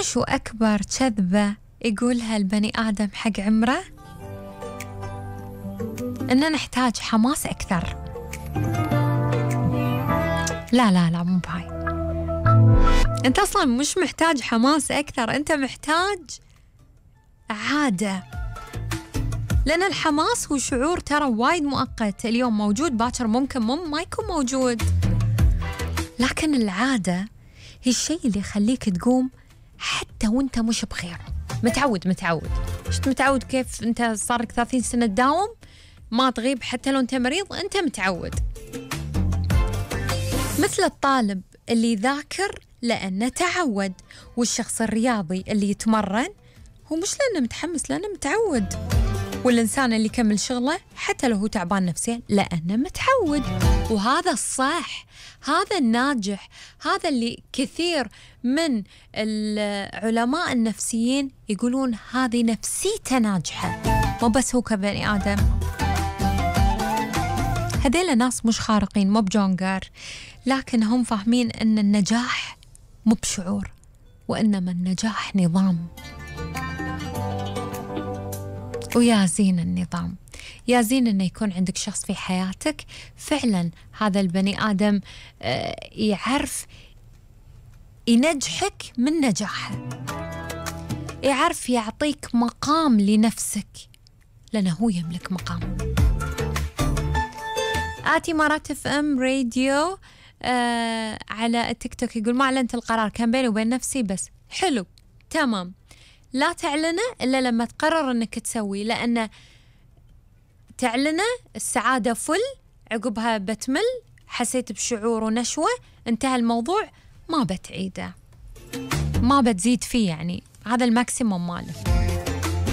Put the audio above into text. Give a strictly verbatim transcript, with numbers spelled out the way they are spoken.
شو أكبر كذبة يقولها البني آدم حق عمره؟ إننا نحتاج حماس أكثر. لا لا لا مو بهاي، أنت أصلاً مش محتاج حماس أكثر، أنت محتاج عادة، لأن الحماس هو شعور ترى وايد مؤقت، اليوم موجود باكر ممكن مم ما يكون موجود، لكن العادة هي الشيء اللي يخليك تقوم حتى وانت مش بخير. متعود متعود شت متعود كيف انت صار لك ثلاثين سنة تداوم ما تغيب حتى لو انت مريض، انت متعود. مثل الطالب اللي يذاكر لأنه تعود، والشخص الرياضي اللي يتمرن هو مش لأنه متحمس، لأنه متعود، والإنسان اللي يكمل شغله حتى لو هو تعبان نفسيا لأنه متعود. وهذا الصح، هذا الناجح، هذا اللي كثير من العلماء النفسيين يقولون هذه نفسيته ناجحة، مو بس هو كبني آدم. هذيلا ناس مش خارقين، مو بجونجر، لكن هم فاهمين أن النجاح مو بشعور، وإنما النجاح نظام. ويا زين النظام، يا زين أنه يكون عندك شخص في حياتك فعلا هذا البني آدم يعرف ينجحك من نجاحه، يعرف يعطيك مقام لنفسك، لأنه هو يملك مقام. آتي مرات اف ام راديو آه على التيك توك يقول ما أعلنت القرار، كان بيني وبين نفسي بس. حلو تمام، لا تعلنه إلا لما تقرر أنك تسوي، لأن تعلنه السعادة فل، عقبها بتمل، حسيت بشعور ونشوة، انتهى الموضوع، ما بتعيده، ما بتزيد فيه، يعني هذا الماكسيموم ماله.